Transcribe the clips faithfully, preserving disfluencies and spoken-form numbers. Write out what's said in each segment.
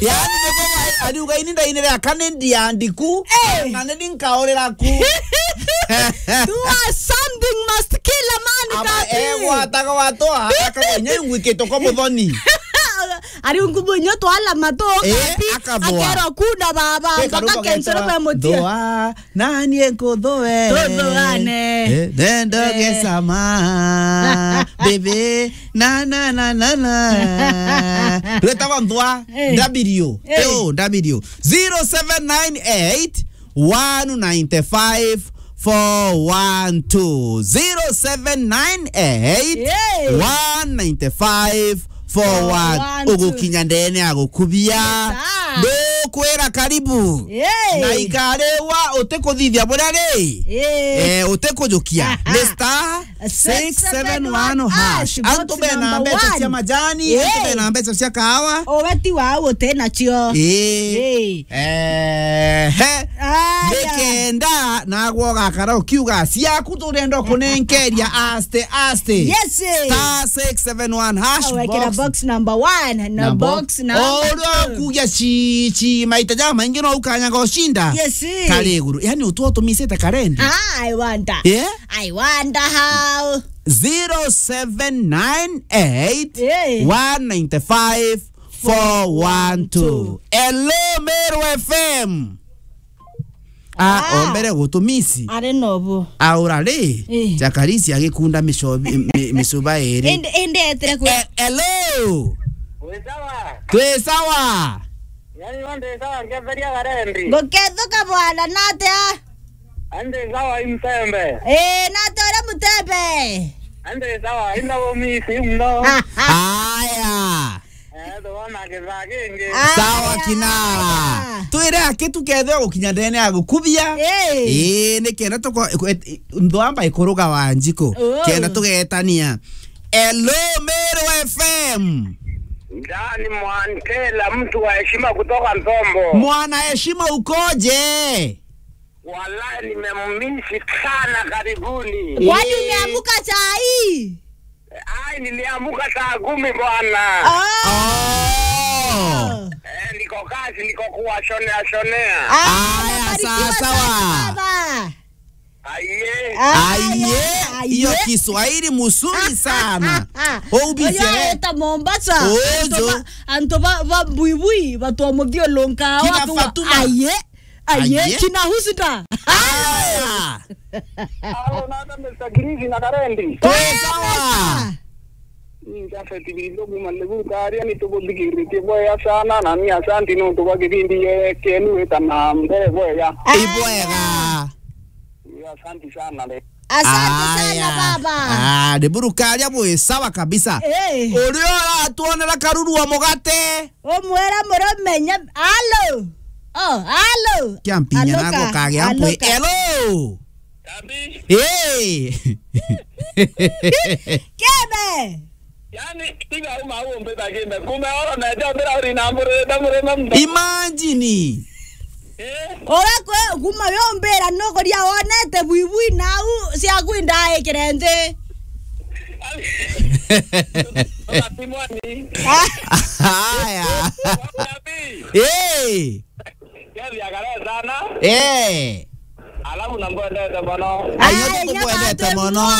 Yaani, niko wa-, ariuga, "Ini ndainire aka ni ndia ndiku, eh, na ni nkaurira ku." Do a something must kill a man, aba Kabi. Egwataga watwa, akagwa inya ingwikitwo kwa muthoni. Ari ngubu inyo twala matu, eh, Kabi, akabwa. Akerwa kunda baba, kwi mpaka karugo kensoro getwa mwe mutia. Thua. Nani nkuthue? Tuthuane. Eh, nendo, eh, gesama. Baby, na, na, na, na, na. Twetagwa nthwa, eh. W. Eh. Yo, W. Zero seven nine eight, one nine five, four one two. Zero seven nine eight, one nine five, four one two. Four one two. Ugukinya ndene agukubia. Yes, sir. Ndukwira karibu. Yay. Na ikariwa utikuthithia buria ri. Yay. Eh, utikujukia. Aha. Ni star six seven one hash. Six seven one hash. Antu bena mbeca cia majani, antu bena mbeca cia kahawa. Ubeti wao uti nacio. Ii. Ii. Ehe. Aya. Nikenda nagwe ugakara ukiuga ciaku turenda kunenkeria aste aste. Yes, eh. Star six seven one hash. Wekera box number one na box number two. Uria ukugia ci, ci maita ja maingi no ukanyaga ucinda. Yes, eh. Kari iguru. Yani utu utumisite karendi. Ah, I wonder. Yeah? I wonder how. Zero seven nine eight, one nine five, four one two. Hello, Meru F M. Ah, ah. Ombere gutumisi. Ari nobu. Aura ri, eh, Jakarisi agikunda micobi-, mi-, micuba iri. Indi, indi etire ku- Eh, hello. Wi sawa? Twi sawa. Yani, yo ndi sawa, ngetheria garendi. Ngukethuka bwana, natia? Andi sawa, Imtembe. Eh, natia uri Mutembe? Andi sawa, ina umisi mno. Aya. Eh, tuona kithaa kingi. Aya. Sawa, Kinara. Twire aki tukethira gukinya ndene ya gukubia. Eh. Eh, ni kenda tuko-, ndwamba ikuruga Wanjiku. Oh. Kenda tugetania. Hello, Meru F M. Ndani Mwantela, mtu wa heshima kutoka Ntombo. Mwana heshima ukoje? Wallahi, nimemmisi sana, karibuni. Kwani umeamuka saa hii? Ai, niliamuka saa kumi bwana. Oh. Oh. Eh, niko kazi, niko kuwashonea shonea. Ah, aya, umebarikiwa sawa, sawa, baba. Aye. Aye, aye, hiyo aye. Kiswahili mzuri sana. Oyo eta Mombasa. Ojo. Antu ba, antu ba, ba buibui, batu wa muthiulunka. Kina watu wa Fatuma. Aye. Aye, aye. Kina Husda. Aya. Alo, nata Mister Green na Karendi. Twi sawa. Ni Jafet Bindo kuma Lebu Karia, ni tubuthikiritie bwega sana, na ni asanti nontu bwa kibindi ye-, kenu wita na mbere bwega. Ibwega. Ni asanti sana le. Asante sana, aya, baba. Ah, ni burukaria bwi sawa kabisa. Eh. Uria uratuonera karuru wa mugate. Umwira murume nya-, alo. Oh, alo. Kiampinya. Aloka, nago kage ampwe. Aloka. Hello. Kabi. Hey. Kebe. Yani, tiga uma umbe bagimbe. Kume oro na jambira uri na mbure, da mbure na mba. Imagine. Eh? Ora kwe, kuma yombira no kuria wonete buibui nau cia kwinda ikire nthi. Simoni. Haya. Kabi. Hey. Kethi akare sana. Eh. Alafu na mbwendete mono. Ayo, ai, tukwendete mono.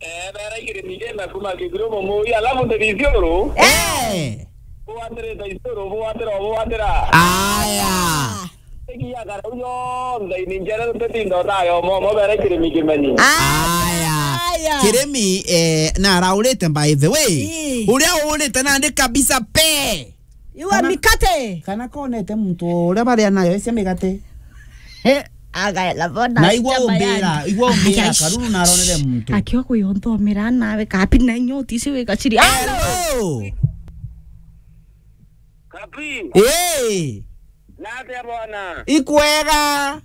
Eh, bera ikirimi kenda kuma Kiguru Mumui, alafu ndi Isiuru. Eh. Bwatirite Isiuru, bwatira, bwatira. Aya. Igia kare uyo, nthai ni njere, ntetinda tayo, mo, mo bera ikirimi kimenyi. Aya. Aya. Kirimi, eh, na araurite by the way. Ii. Uria urite nandi kabisa pe. Iwa kana mikate. Kana konete muntu uria baria nayo cia migate. He, agaela bona. Na igua umbira, igua umbira, aya, karuru na aronere muntu. Akio kuyonthomera nawe kapi na inyoti ici wika ciri. Hello. Kapi. Eh. Nate bona. Ikwega.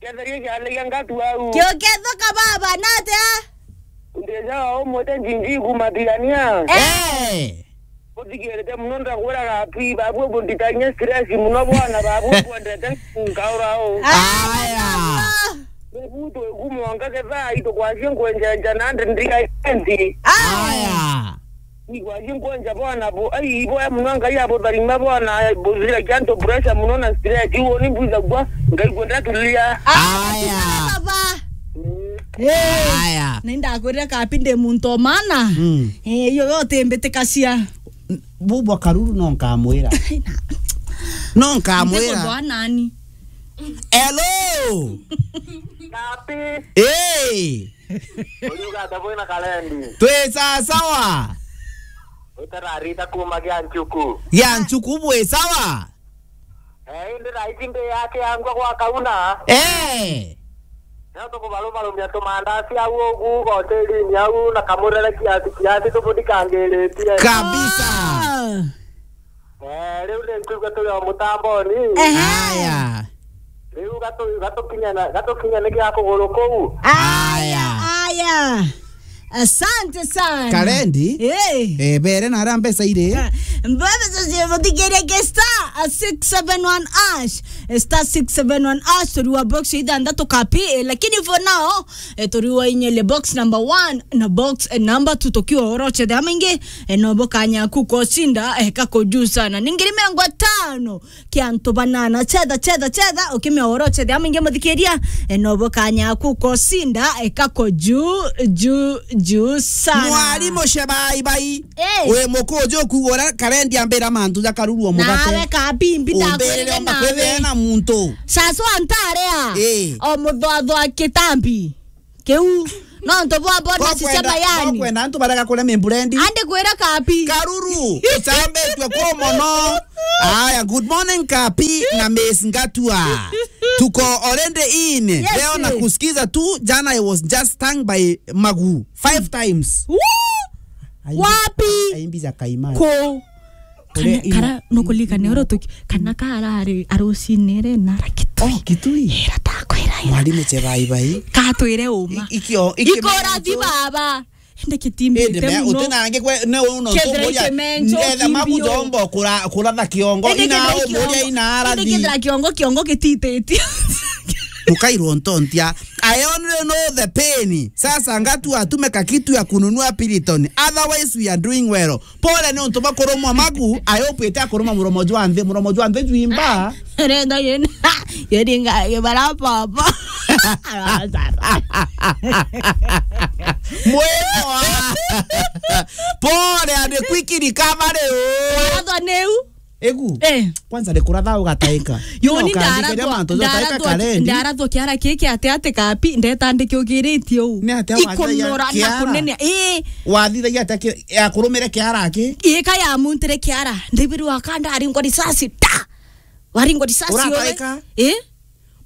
Ketheria kialegia ngatu au. Kio kethoka baba, natia? Ndesa umwete Njinji kuma Tigania. Eh. Uthikirite muno ndakwiraga ati babu bunditanyia stress muno bwana, babu kwendete nkaura u. Aya. Babu tu kumwanga ketha itu kwacio nkwenjenja na ndi ndiga enti. Aya. Igwa ji nkwonja bona bo, ai, iboya muno Ngai abutharima bona, buzira kianto pressure muno na stress, iwo ni mbwithagua, Ngai kwenda tulia. Aya. Baba. Eh. Aya. Na indakwirira kapi ndi muntu o maana. Mm. Eh, iyo yote mbitikacia. Bubwa Karuru no nkamwira. No nkamwira. Ntikumboa nani? Hello. Kapi. Hey. Uriuga ata bwina Kalendi? Twi sasawa. Utararita kuma gia nchuku. Gia nchuku bwi sawa? Eh, indi raiji ndi yake yangwa gwa kauna. Eh. Nio tukubarumarumia tumandasi au ugu hotelini au na kamurere kiasi kiasi tubudikangiritie. Kabisa. Ah. Eh, riu ni nkuigua turi o mutamboni. Ehe. Aya. Riu gatu-, gatukinya na, gatukinya ni gia kuguru kuu. Aya, aya. Asante sana. Kalendi. Eh. Eh, bere na ara mbeca iri. Ah, mbeca cio muthikirie ke star six seven one hash. Eh, star six seven one hash, turiwa box ithanthatu kapi, eh, lakini for now, eh, turiwa inyele box number one na box, eh, number two tukiwa oroche de amingi, eh, no bukanya kukosinda, eh, kakujusa na ningiri miongo tano. Kia antu banana. Chetha, chetha, chetha, ukimia oro chethe, amingi muthikiria, e, no bukanya kukosinda, e, kako juu, juu, juu sana. Mwalimu Shebai Bai. Eh. Wi mukuju kugura Kalendi ambira mantu ja Karuru o mugate. Nawe kabimbi. Umbirire ndakwirire omba kwithia nawe na muntu. Sasa antarea. Eh. O muthothwa kitambi. Kiu. No ntu bwa bonus cia mayani. Kwenda antu barega kuria mimburendi. Andi kwira kapi. Karuru, ucambitue ku mono. Aya, good morning kapi na Miss Ngatua. Tuko already in. Yes. Leo na kusikiza tu, jana I was just stung by Magu five times. Woo! Aimbi-, wapi? Aimbi ja kaimani. Ku. Kana, uria kara, nukulikane oro tuki, kana karari arucine ri na rakitui. Oh, kitui. Ira takwira ira. Mwalimu Chebai Bai. Katwire uma. I-, ikio, ikio ikora menjo. Ti baba. Ende kitimbite. Ende me, muno. Utina ange kwe, ne uno. Kethira tumoria, ikio menjo, ndetha mabu kimbio. Jombo kura, kura tha kiongo. Ende ina kethira umuria ikiongo. Ina arathi. Ende kethira kiongo, kiongo gitititio. Tukairwo ntontia. I only know the pain. Sasa Ngatu atume kakitu ya kununua Piriton. Otherwise, we are doing well. Pole ni untu bwa kurumwa Magu, I hope ite akuruma muromo jwa nthi, muromo jwa nthi jwimba. Renda yena, yeringa, yebara papa. Mwema. Pole, and quick recovery, oh. Wathwa niu. Egu. Eh. Kwanza ni kuratha ugataika. Yo, ni ndarathwa, ndarathwa, ndarathwa kiara kiki ati ati kapi, ndetandike ugiritie u. Ni ati wathithagia kiara? Ikunora na kunene. Ii. Wathithagia ati ki-, ya kurumire kiara ki? Ii, ka ya muntire kiara. Ndibirwa ka ndaringwa risasi. Ta! Waringwa risasi. Urataika? Ii.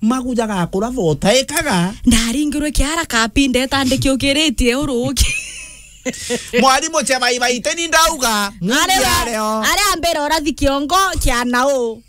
Maguja gakura thotaikaga. Ndaringirwe kiara kapi ndetandike ukiritie uruki. Mwalimu Chebai Bai, teni ndauga, mundi areo. Aria mbere urathi kiongo kia nau.